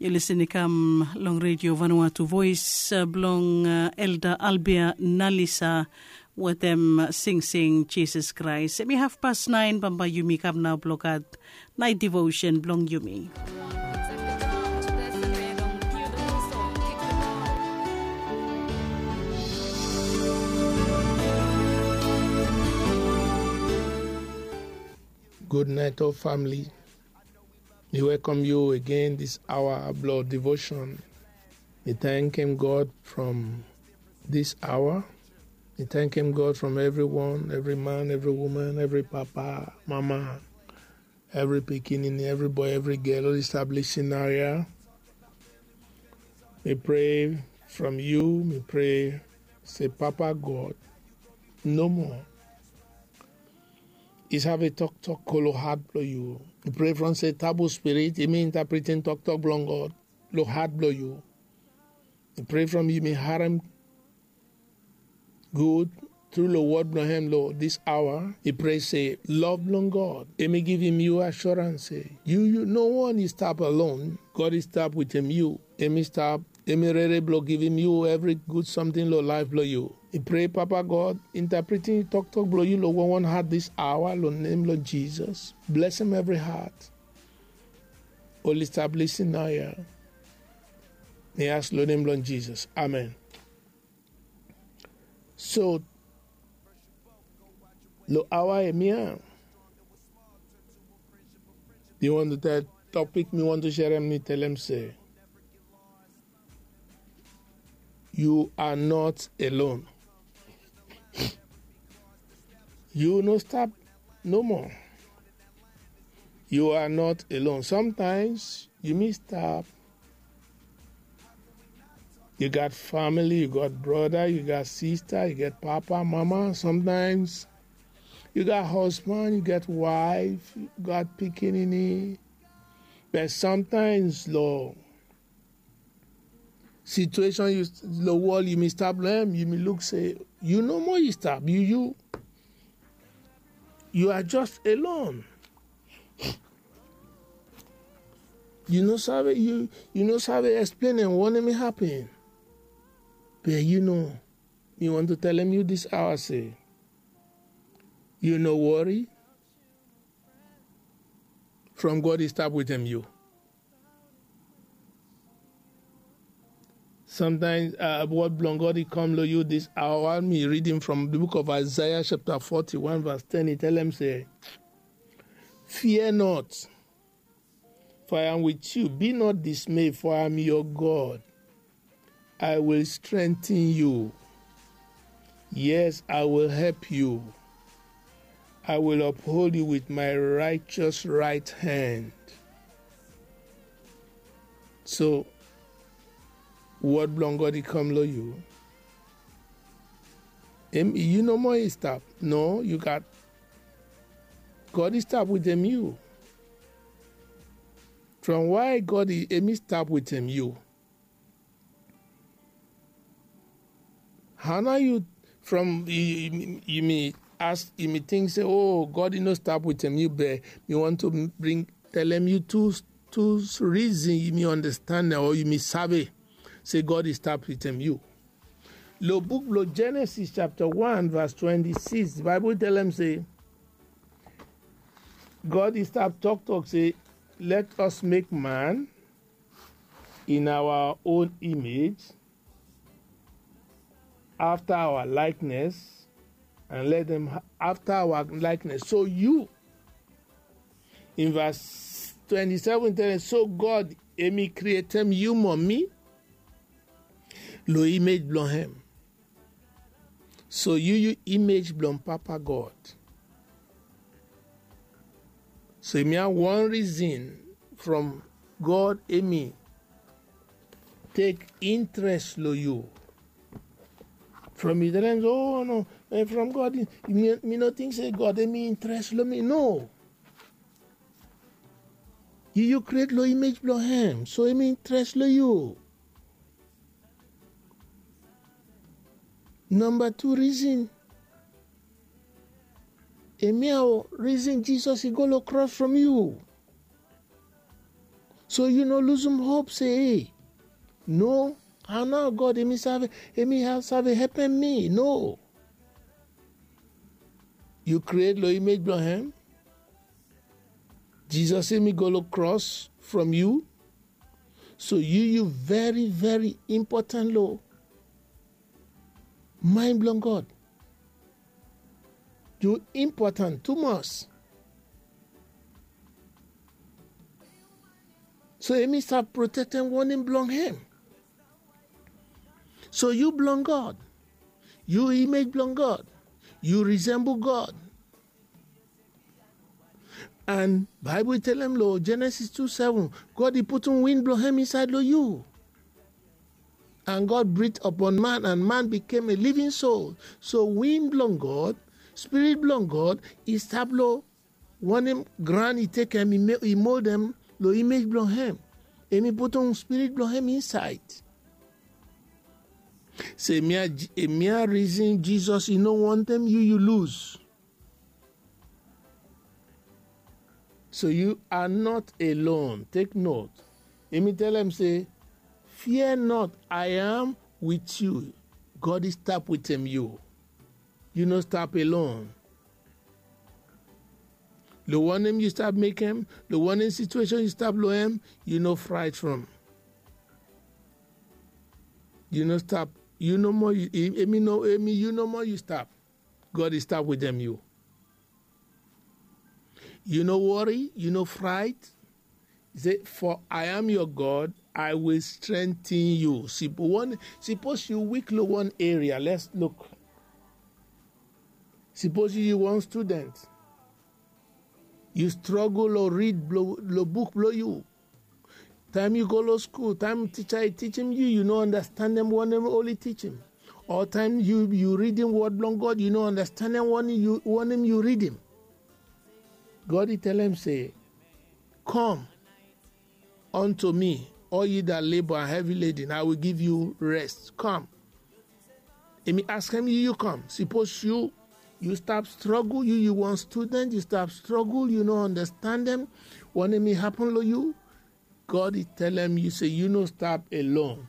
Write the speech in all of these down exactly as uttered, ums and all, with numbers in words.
Yu lisin i kam long redio vanua tu voes blong elda albia nalisa wetem singsing jisas kraes em i hafpas naen bambae yumi kam nao blong gat naet devosen blong yumi. Gud naet ol famili. Mi welkom yu agen dis aoa blong devoshon. Mi tankem god from dis aoa. Mi tankem god from evriwan, evri man, evri woman, evri papa, mama, evri pikinini, evri boe, evri gel oli stap lisin nao ya. Mi pre from yu mi pre se papa god, nomo i save toktok kolo hat blong yu. I pre from se tabu spirit i mi intapritin toktok blong god long hat blong yu. I pre from yu mi harem gud tru long wod blong hem long dis aoa. I pre se lov blong god em i givim yu asurans se yu yu no wan i stap alon. God i stap witim yu. Em i stap em i rere blong givim yu evri gud samting long laef blong yu. I pre papa god intapritim toktok blong yu long wanwan hat dis aoa long nem blong jisas. Blesem evri hat oli stap lisin nao ya. Mi as long nem blong jisas, amen. So long aoa ya mi ya mi wantu tel topik mi wantu serem mi telem se yu are not alone. Yu no stap nomo. Yu are not alone somtaims yu mi stap. Yu gat famili yu gat broda yu gat sista yu gat papa mama somtaims yu gat hosban yu gat waef yu gat pikinini. Be somtaims long situeshon long wol yumi stap long em yumi luk se yu no moa yu stap yu yu yu are just alone. Yu no save yu yu no save eksplen en wanem i hapen. Be yu no mi wantu telem yu dis aoa se yu no wori. From god i stap witem yu. Somtaims wod blong god i kam long yu dis aoa mi ridim from di book of isaiah chapta forty-one vas ten i telem se, fia not, for i am wit yu. Bi not dismay for i am yor god. I will strengten yu. Yes, i will help yu. I will uphold yu wit my righteous right hand. So wod blong god i kam long yu. Yu no moa i stap no yu gat. God i stap witem yu. From wai god i em i stap witem yu? Hana yu from yumi as yumi ting se o god i no stap witem yu be mi want to bring telem yu tu tu rizin yumi understand o yumi save se god i stap witem yu. Lo buk blo genesis chapta one vas twenty-six di baibol telem se god i stap toktok se let us make man in our own image afta our likeness and let them afta our likeness. So yu in vas twenty-seven tell so god emi krietem yu mo mi lo image blong hem. So yu yu image blong papa god. So emi a wan rizin from god emi tek intres lo yu. From yu telen o no from god mi no ting se god emi intres lo mi no. Yu yu kret lo image blong hem so emi intres lo yu. Namba tu rizin. Emi a o rizin jisas i go long kros from yu. So yu no luzum hop se, ei, no, hao nao God hemi save, hemi save hepem mi? No. Yu kriet lo imej blong hem. Jisas hemi go lo kros from yu. So yu yu veri veri impotan lo maen blong God. Yu impotan tumas. So hemi stap protektem wanem blong hem. So yu blong God. Yu imej blong God. Yu risembol God. An Baebol i telem lo Jenesis tu seven, God i putum win blong hem insaed lo yu. An God brit apon man, an man bikem a living soul. So win blong God, spirit blong God, i stap lo wanem graon i tekem, i moldem lo imej blong hem. Hemi putum spirit blong hem insaed. Se hemia, hemia rizin Jisas i no wantem yu yu luz. So you are not alone. Take note. Hemi telem se, fear not, I am with you. God i stap wetem yu. Yu no stap alone. Lo wanem yu stap mekem, lo wanem situation yu stap lo hem, yu no fraet from. Yu no stap, yu nomo, yu, hemi no, hemi yu nomo yu stap. God i stap wetem yu. Yu no wori, yu no fraet. I se, for I am your God, I will strengthen you. Sipos yu wik lo wan area, let's look. Sipos yu wan student, yu strogol lo rid lo buk blo yu. Taem yu go lo skul, taem tija i tijim yu, yu no andastandem wanem oli tijim. O taem yu, yu ridim wod blong God, yu no andastandem wanem yu ridim. God i telem se, come unto me, all ye that labor and heavy laden, I will give you rest. Come. Hemi askem yu, yu kam. Sipos yu, yu stap strogol, yu, yu wan student, yu stap strogol, yu no andastandem wanem i hapen lo yu. God i telem yu se yu no stap alone.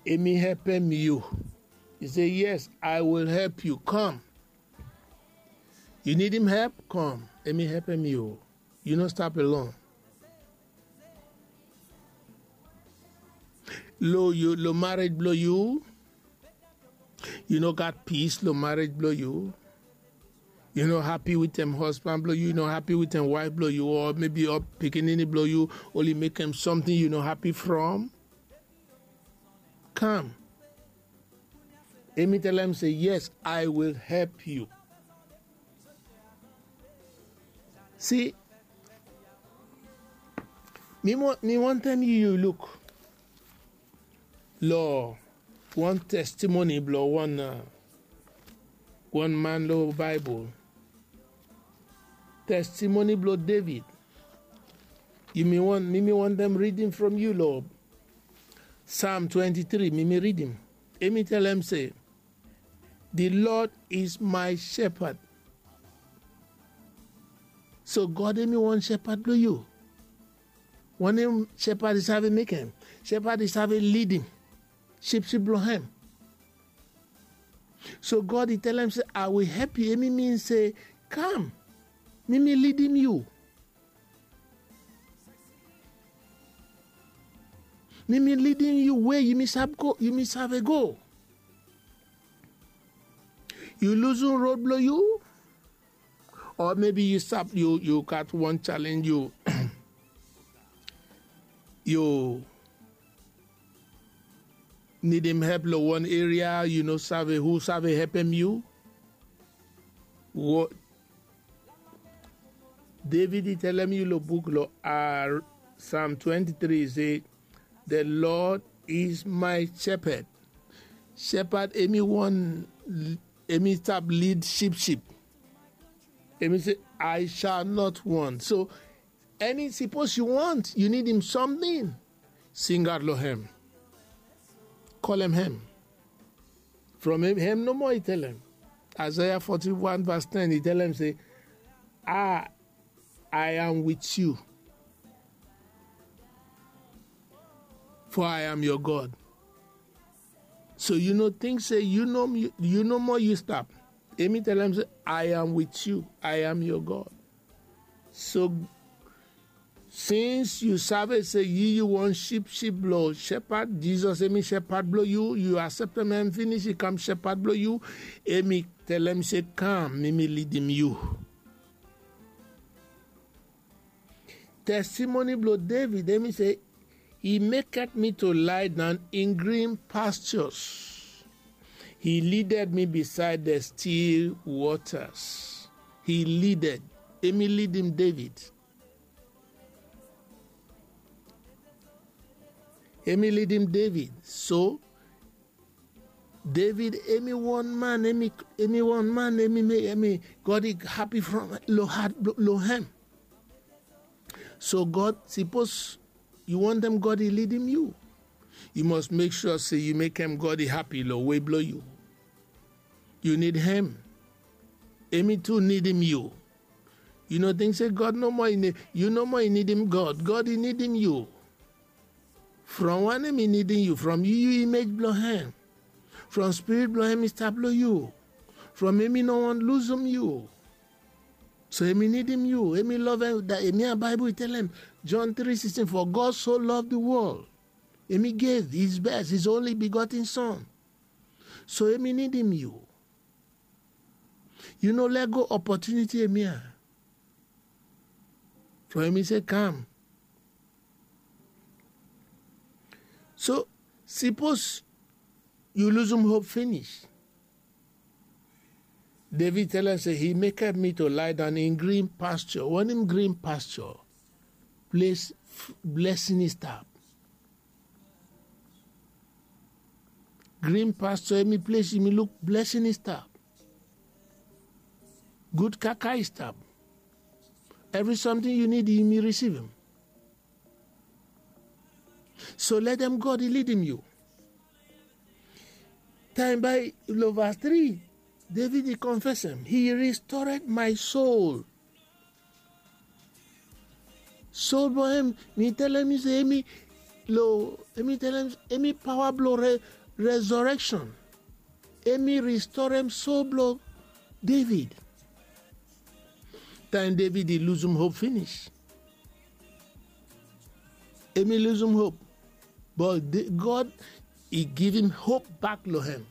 Hemi hepem yu. I se, yes, I will help you. Come. Yu nidim hep? Kam. Hemi hepem yu. Yu no stap alone. Lo yu, lo marej blo yu, yu no gat pis lo marej blo yu. Yu no hapi wetem husband blo yu, yu no hapi wetem waef blo yu, o maybe o pikinini blo yu oli mekem something yu no hapi from. Kam. Hemi telem se, yes, I will help you. Si, mi wantem yu luk lo wan testimoni blo wan, wan man lo Baebol. Testimoni blo David. Mi, mi wantem ridim from yu lo Psalm twenty-three, mi, mi ridim. Hemi telem se, the Lord is my shepherd. So God hemi wan shepherd blo yu. Wanem shepherd i save mekem? Shepherd i save lidim sipsip blo hem. So God i telem se, I will help you. Hemi min se, kam, mi, mi lidim yu. Mi, mi lidim yu we yu, yu save go. Yu luzum rod blo yu, o maybe yu stap, yu, yu gat wan challenge, yu, yu nidim hep lo wan area, yu no save hu save hepem yu. David i telem yu lo buk lo Psalm twenty-three se, the Lord is my shepherd. Shepherd hemi wan, hemi stap lid sipsip. Hemi se, I shall not want. So, eni, sipos yu want, yu nidim something, singaot lo hem. Kolem hem. From hem nomo i telem. Isaiah forty-one verse ten i telem se, I, I am with you. for I am your God. So yu no ting se yu no yu no moa yu stap. Emi tell am se, I am with you, I am your God. So since yu save se yu yu won sheep sheep blong shepherd, Jesus emi shepherd blong yu, yu accept am finish, i kam shepherd blong yu, emi tell am se, kam, mi mi lidim yu. Testimony blong David, emi se, he maketh me to lie down in green pastures. He leaded me beside the still waters. He leaded. Emi lidim David. Emi lidim David. So David emi wan man emi emi wan man emi mek emi God i happy from lo heart lo hem. So God, sipos yu wantem God i lidim yu, yu must mek sua se yu mekem God i happy lo wei blo yu. Yu nid hem. Emi tu nidim yu. Yu no ting se God nomo i nid yu nomo i nidim God, God i nidim yu. From wanem i nidim yu? From yu yu imej blo hem. From spirit blo hem i stap lo yu. From emi no won luzum yu. So emi nidim yu, emi love hem. Emi ya Baibol i telem, John three sixteen, for God so love the world, emi gave his best, his only begotten son. So emi nidim yu. Yu no lego opportunity emi ya. From emi se kam. So sipos yu luzum hop finish. David tell am se, he maketh me to lie down in green pasture. Wanem green pasture? Ples blessing i stap. Green pasture emi ples imi luk blessing i stap. Gud kaka i stap. Evri samting yu nid imi risivim. So letem God i lidim yu. Taem bae lo vas tri, David i konfesem, he restored my soul. Soul blo hem, mi telem yu se emi lo emi telem emi paoa blo resoreksen. Emi ristorem soul blo David. Taem David i luzum hop finish. Emi luzum hop. But God i givim hop bak lo hem.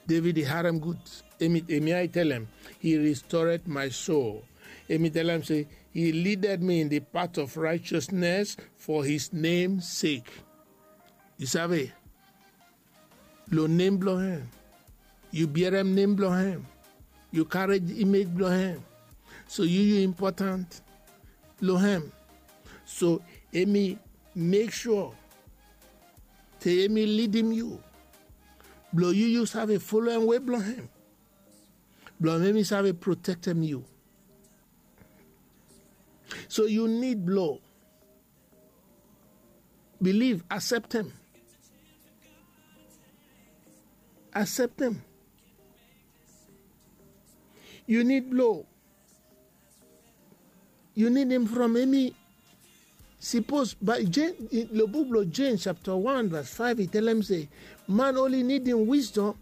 David i harem gud. Emi ya i telem, he restored my soul. Emi telem se, he leaded me in the path of righteousness for his name sake. Yu save? Lo nem blo hem. Yu biaram nem blo hem. Yu karem imej blo hem. So yu yu impotant lo hem. So emi mek sua se emi lidim yu. Blo yu yu save folem wei blo hem. Blo emi save protektem yu. So yu nid blo biliv, aseptem. Aseptem. Yu nid blo yu nidim from emi. Sipos bae James, lo buk blo James chapta wan vas faef i telem se, man oli nidim wisdom,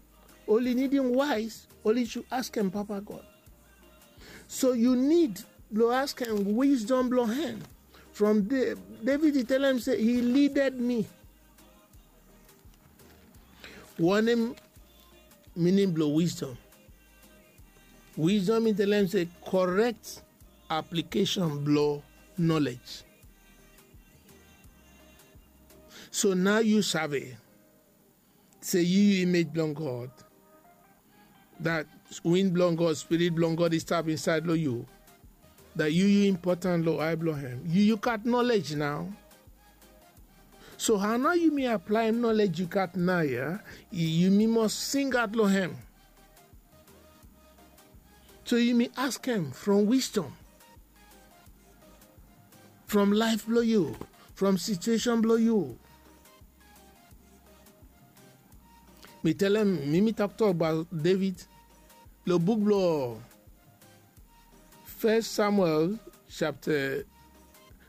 oli nidim waes, oli sud askem Papa God. So yu nid blo askem wisdom blo hem. From David i telem se, he leaded me. Wanem mining blo wisdom? Wisdom i telem se korek aplikesen blo nolej. So nao yu save se yu yu imej blong God. Dat win blong God, spirit blong God i stap insaed long yu. Dat yu yu impotan long ae blong hem. Yu yu gat nolej nao. So hao nao yumi aplaem nolej yu gat nao ya? Yumi mos singaot long hem. So yumi askem from wisdom, from laef blong yu, from situesen blong yu. Mi telem, mi mi toktok abaot David long buk blong Fes Samuel chapta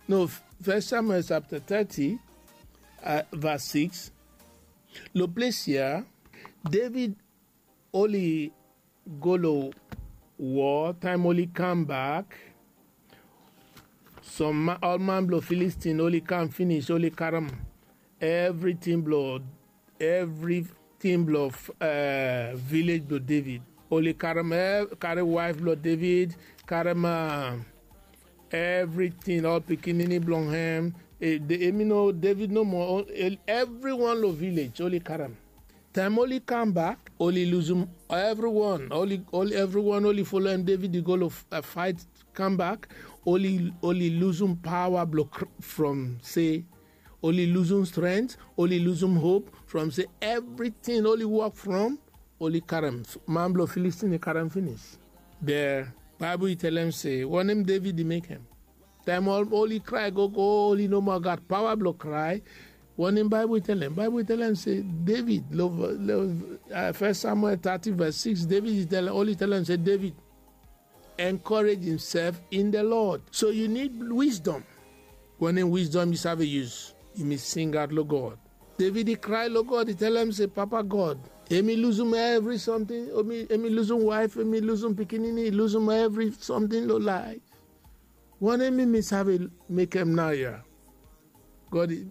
No, First Samuel chapter thirty, uh, verse six. Lo ples ya, David oli go lo war, taem oli kam bak, som ma-, ol man blo Filistin oli kam finis, oli karem evritin blo, evritin blo, eh, vilej blo David. Oli karem ev-, kari waef blo David, karem, eh, evritin, ol pikinini blong hem. Eh, de-, hemi no David nomo, o-, el-, evriwan lo vilej oli karem. Taem oli kam bak, oli luzum evriwan, oli, oli, evriwan oli folem David i go lo f-, eh, faet kam bak, oli, oli luzum paoa blo kr-, from se, oli luzum strength, oli luzum hope from se evritin oli wok from, oli karem. Man blo Filistin i karem finis. Be Baebol i telem se wanem David i mekem. Taem ol-, oli krae gogo, oli no moa gat paoa blo krae. Wanem Baebol i telem? Baebol i telem se David, lo, lo, uh, First Samuel thirty verse six, David i telem, oli telem se David encourage himself in the Lord. So you need wisdom. Wanem wisdom yu save yus? Yumi singaot lo God. David i krae lo God, i telem se, Papa God, hemi luzum evri samting, hemi, hemi luzum waef, hemi luzum pikinini, i luzum evri samting lo laef. Wanem mi save mekem naoia? God i,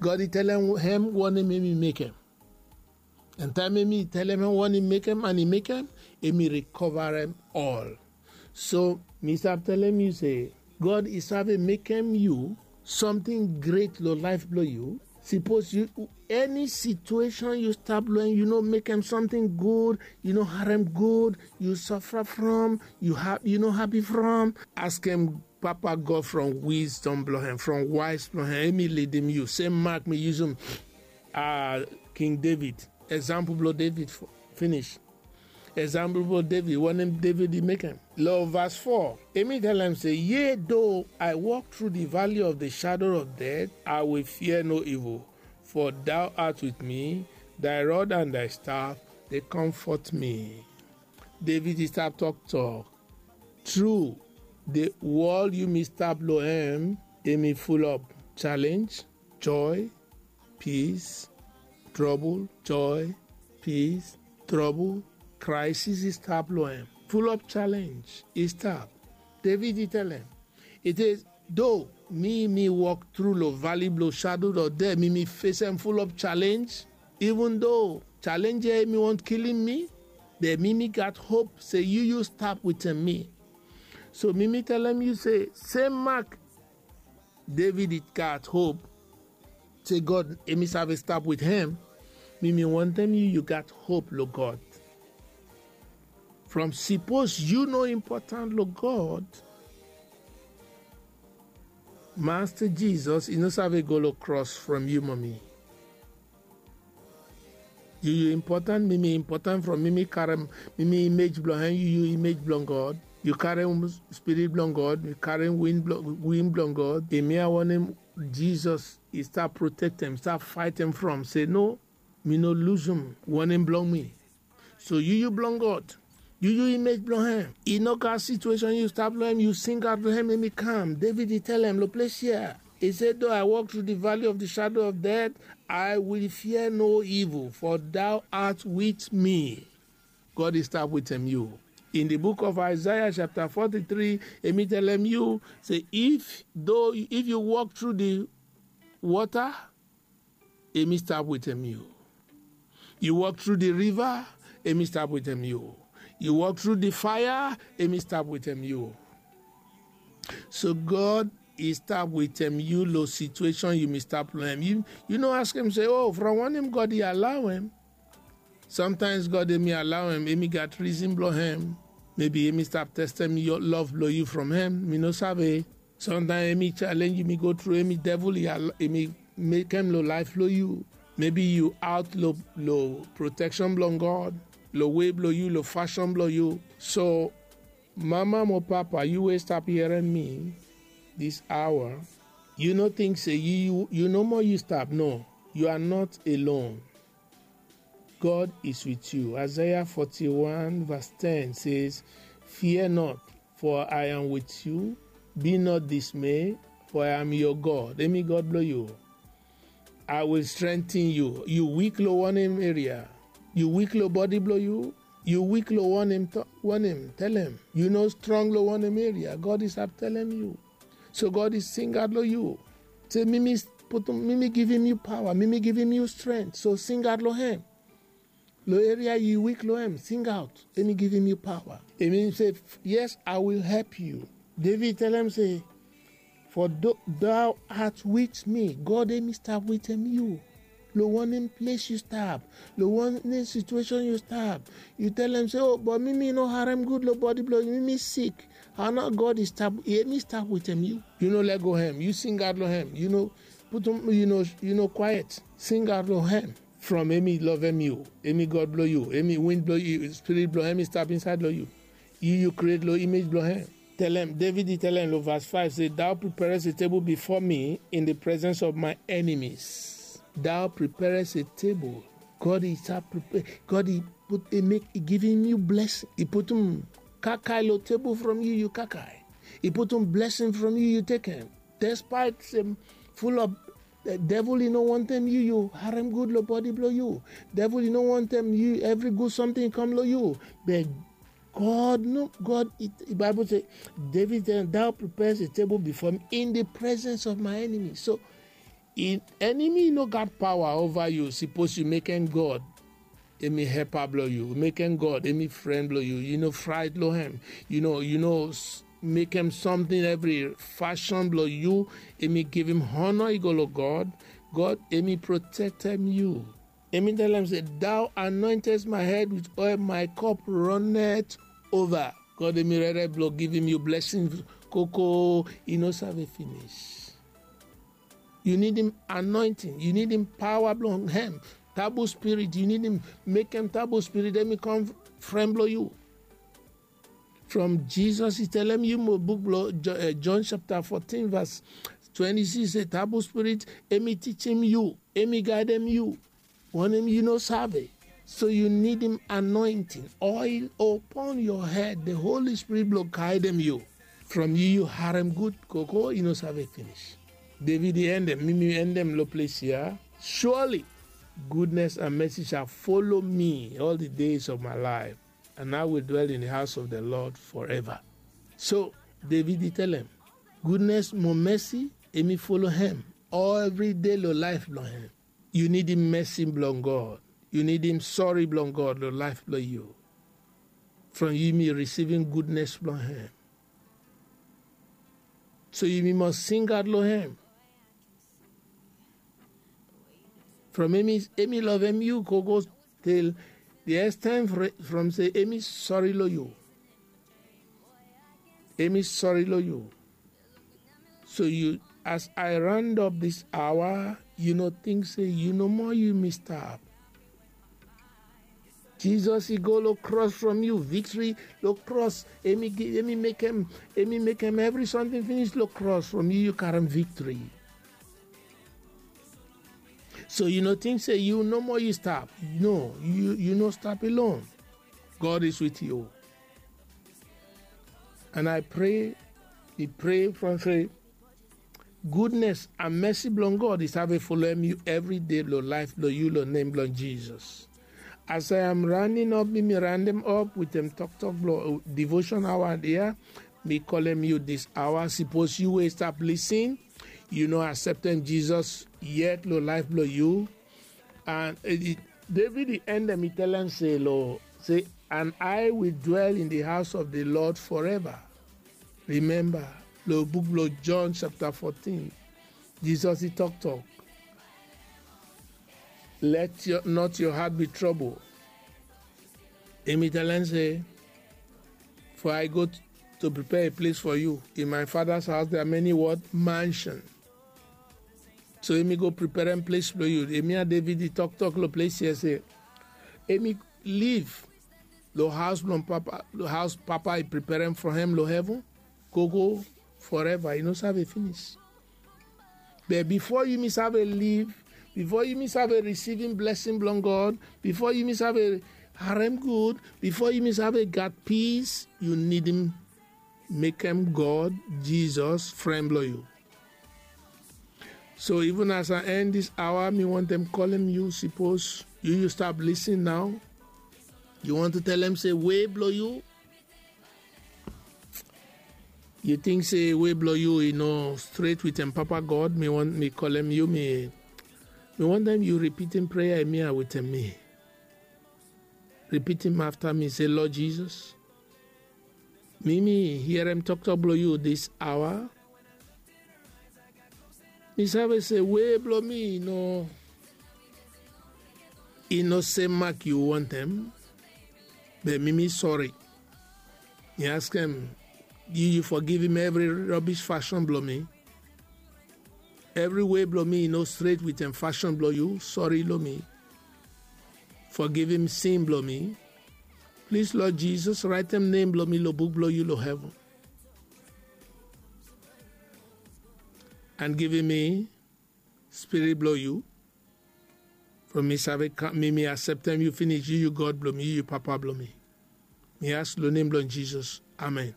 God i telem hem wanem hemi mekem. An taem hemi telem hem wanem i mekem, an i mekem, hemi rikovarem ol. So mi save telem yu se God i save mekem yu samting gret lo laef blo yu. Sipos yu, eni situesen yu stap lo hem, yu no mekem samting gud, yu no harem gud, yu safara from, yu ha-, yu no hapi from, askem Papa God from wisdom blo hem, from waes blo hem, hemi lidim yu. Sem mak mi yusum, ah, King David, egzampol blo David fo-, finis. Egzampol blo David, wanem David i mekem. Lo verse four, hemi telem se, Yea, though I walk through the valley of the shadow of death, I will fear no evil, for thou art with me, thy rod and thy staff, they comfort me. David i stap toktok. Tru, the world yumi stap lo hem, hemi fulop challenge, joy, peace, trouble, joy, peace, trouble, crisis i stap lo hem. Fulop challenge i stap. David i telem, it is, though mi, mi walk through lo valley blo shadow of death, mi, mi fesem fulop challenge. Even though challenge ya hemi wont kilim mi, be mi, mi gat hope se yu, yu stap wetem mi. So mi, mi telem yu se, sem mak David i gat hope se God hemi save stap wit hem. Mi, mi wantem yu, yu gat hope lo God. From sipos yu no impotan lo God, Masta Jisas i no save go lo kros from yu mo mi. Yu, yu impotan, mi, mi impotan from mi, mi karem, mi, mi imej blong hem, yu, yu imej blong God. Yu karem spirit blong God, yu karem win blong, win blong God. Hemia wanem Jisas i stap protektem, stap faetem from. Se no, mi no luzum wanem blong mi. So yu, yu blong God. Yu, yu imej blong hem. I no gat situation yu stap lo hem, yu singaot lo hem, hemi kam. David i telem lo ples ya. I se, though I walk through the valley of the shadow of death, I will fear no evil, for thou art with me. God i stap wetem yu. In the book of Isaiah chapter forty-three, hemi telem yu se, if though, if yu walk through the water, hemi stap wetem yu. Yu walk through the river, hemi stap wetem yu. Yu walk through the fire, hemi stap wetem yu. So God i stap wetem yu lo situation yumi stap lo hem. Yu, yu no askem se, oh, from wanem God i allow hem? Sometimes God hemi allow hem, hemi gat reason blong hem. Maybe hemi stap testem love blong yu from hem. Mi no save. Sometimes hemi challenge yu, hemi go through, hemi devil, hemi mekem lo laef blong yu. Maybe yu out lo, lo protection blong God, lo way blong yu, lo fashion blong yu. So mama mo papa, yu wey stap hearing mi this hour, yu no think se yu, yu, yu nomo yu stap. No, you are not alone. God is with you. Isaiah forty-one verse ten says, "Fear not, for I am with you. Be not dismay, for I am your God. Emi God blong yu. I will strengthen you. Yu wik long wanem eria? Yu wik long bodi blong yu? Yu wik long wanem? Wanem? Telem. Yu no strong long wanem eria? God i save telem yu. So God i singaot long yu. Se mi mi putum, mi mi givim yu paoa, mi mi givim yu strength. So singaot long hem. Long eria yu wik long hem, singaot. Emi givim yu paoa. Emi se, yes, I will help you. David telem se, for thou art with me. God emi stap wetem yu. Long wanem ples yu stap, long wanem situation yu stap, yu telem se, o, but mi mi no harem gud long bodi blong mi, mi sik. Hao nao God i stap, emi stap wetem yu? Yu no lego hem, yu singaot long hem, yu no putum, yu no, yu no kwaet. Singaot long hem. From emi lovem yu, emi God blong yu, emi wind blong yu, spirit blong hem i stap insaed long yu. Yu yu create long image blong hem. Telem, David i telem long verse five se, thou preparest a table before me in the presence of my enemies. Thou preparest a table. God i stap prepare, God i put, i mek, i givim yu blessing. I putum kakae long table from yu, yu kakae. I putum blessing from yu, yu tekem. Despite se full of, eh, devil i no wantem yu, yu harem gud long bodi blong yu. Devil i no wantem yu, evri gud samting i kam long yu. Be God no, God, i, i Bible se, David se, thou preparest a table before me in the presence of my enemy. So, enemy no gat paoa ova yu, sipos yu mekem God emi helpa blong yu, mekem God emi fren blong yu, yu no fraet long hem, yu no, yu no mekem samting evri fasin blong yu emi givim honor i go long God. God emi protektem yu. Emi telem se, thou anointest my head with oil, my cup runneth over. God emi rere blong givim yu blessing, koko, i no save finis. Yu nidim anointing, yu nidim paoa blong hem. Tabu spirit, yu nidim mekem tabu spirit emi kam fren blong yu. From Jesus i telem yu mo buk blong John chapter fourteen verse twenty-six se tabu spirit emi tijem yu, emi gaedem yu. Wanem yu no save? So yu nidim anointing, oil upon your head, the Holy Spirit blong gaedem yu. From yu yu harem gud, koko, i no save finis. David i endem, mi mi endem long ples ya. Surely goodness and mercy shall follow me all the days of my life, and I will dwell in the house of the Lord forever. So David i telem, goodness mo mercy emi folo hem evri day long laef blong hem. Yu nidim mercy blong God. Yu nidim sori blong God long laef blong yu. From yu mi risivim goodness blong hem. So yu mi must singaot long hem. From emi, emi lovem yu go go till the extent from se emi sori long yu. Emi sori long yu. So yu, as I round up this hour, yu no think se yu nomo yu mi stap. Jesus i go long cross from yu, victory long cross. Emi gi, emi mekem, emi mekem evri samting finis long cross from yu, yu karem victory. So yu no think se yu nomo yu stap. No, yu, yu no stap alone. God is with you. And I pray, I pray from se goodness and mercy blong God i save folem yu evri day long laef blong yu long nem blong Jesus. As I am rounding up, mi mi round dem up with dem toktok blong devotion hour dia. Mi kolem yu this hour, sipos yu we stap lisin, yu no acceptem Jesus yet long laef blong yu. And David i end dem, i telem se lo, se, and I will dwell in the house of the Lord forever. Remember, lo book lo John chapter fourteen, Jesus i toktok, let your, not your heart be trouble. Emi telem se, for I go to prepare a place for you. In my father's house there are many what? Mansion. So emi go preperem ples blong yu. Emi ya David i toktok lo ples ya se emi liv lo haos blong Papa, lo haos Papa i preperem from hem lo heven, gogo, forever, i no save finis. Be bifo yu mi save liv, bifo yu mi save risivim blesing blong God, bifo yu mi save harem gud, bifo yu mi save gat pis, yu nidim mekem God Jizos fren blong yu. So even as I end this hour, mi wantem kolem yu, sipos yu yu stap lisin nao, yu want to telem se we blong yu, yu ting se we blong yu i no stret wetem Papa God, mi want mi kolem yu, mi mi wantem yu ripitim prea ya wetem mi. Ripitim afta mi, se, Lord Jesus, mi mi hierem toktok blong yu dis aoa. Mi save se we blong mi i no i no sem mak yu wantem. Be mi mi sori. Mi askem yu yu fogivim evri robis fasin blong mi. Evri we blong mi i no stret wetem fasin blong yu, sori long mi. Fogivim sin blong mi. Plis Lord Jizos, raetem nem blong mi long buk blong yu long heven. And givim mi spirit blong yu. From mi save kam mi mi aseptem yu finis, yu yu God blong mi, yu yu Papa blong mi. Mi ask long nem blong Jizos. Amen.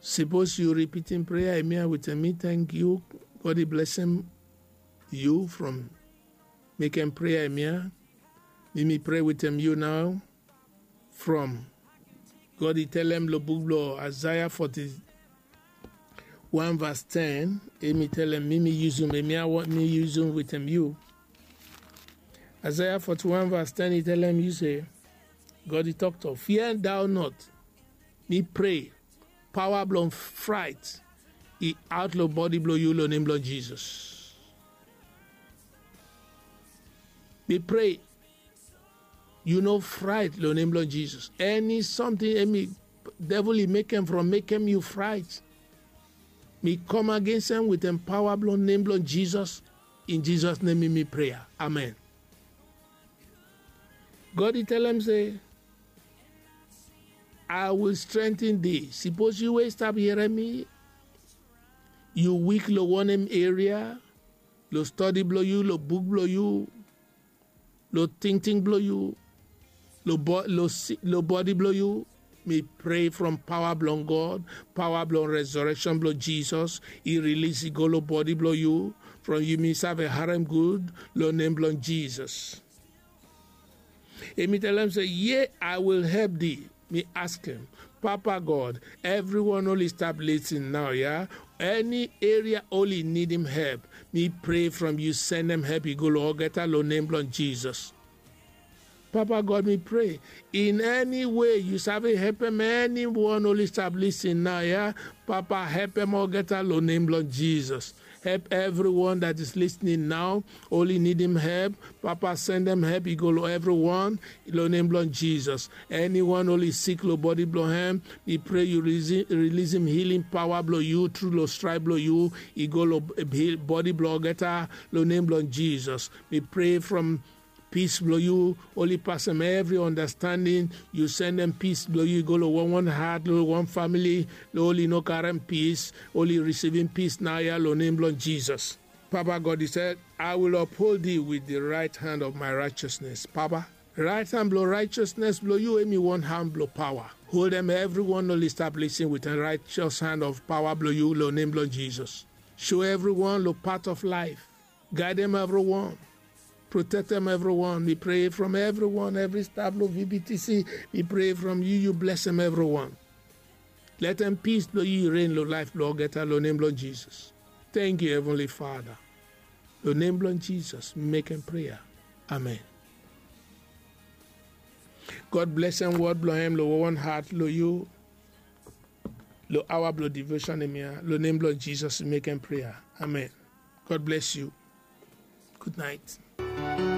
Sipos yu ripitim prea ya wetem mi, tang yu. God i blesem yu from mekem prea ya. Mi mi prea wetem yu nao. From God i telem long buk blong Isaiah forty-one verse ten, emi telem mi mi yusum, emi a want mi yusum wetem yu. Isaiah forty-one verse ten i telem yu se, God i toktok, fear thou not. Mi prea, paoa blong fraet i aot long bodi blong yu long nem blong Jizos. Mi prea, yu no fraet long nem blong Jizos. Eni samting emi devil i mekem from mekem yu fraet, mi kam agensem wetem paoa blong nem blong Jizos. In Jizos nem mi mi prea. Amen. God i telem se, I will strengthen thee. Sipos yu we i stap hierem mi, yu wik long wanem eria, long stodi blong yu, long buk blong yu, long tingting blong yu, long bodi blong yu, mi prea from paoa blong God, paoa blong resureksen blong Jizos i rilis i go long bodi blong yu. From yu mi save harem gud long nem blong Jizos. Emi telem se, ye, I will help thee. Mi askem, Papa God, evriwan oli stap lisin nao ya, eni eria oli nidim help, mi prea from yu sendem help i go long olgeta long nem blong Jizos. Papa God, mi prea, in eni we yu save helpem eniwan oli stap lisin nao ya, Papa helpem olgeta long nem blong Jizos. Help evriwan that is listening now. Oli nidim help. Papa, sendem help i go long evriwan long nem blong Jizos. Eniwan oli sik long bodi blong hem, mi prea yu rilisim hiling paoa blong yu tru long straep blong yu i go long bodi blong olgeta long nem blong Jizos. Mi prea from pis blong yu oli pasem evri ondastanding. Yu sendem pis blong yu i go long wanwan hat, long wan famili oli no karem pis, oli risivim pis naoia long nem blong Jizos. Papa God, yu se, I will uphold thee with the right hand of my righteousness. Papa, raet han blong raetiosnes blong yu hemi wan han blong paoa. Holdem evriwan oli stap lisin with a raetios han of paoa blong yu long nem blong Jizos. Show evriwan long pat of laef. Gaedem evriwan. Protektem evriwan. Mi prea from evriwan, evri staf long V B T C. Mi prea from yu yu blesem evriwan. Letem pis blong yu i rein long laef blong olgeta long nem blong Jizos. Tangkiu, Heavenly Father. Long nem blong Jizos mi mekem prea. Amen. God blesem wod blong hem long wonwan hat long yu. Long aoa blong devotion hemia, long nem blong Jizos mi mekem prea. Amen. God bless you. Good night.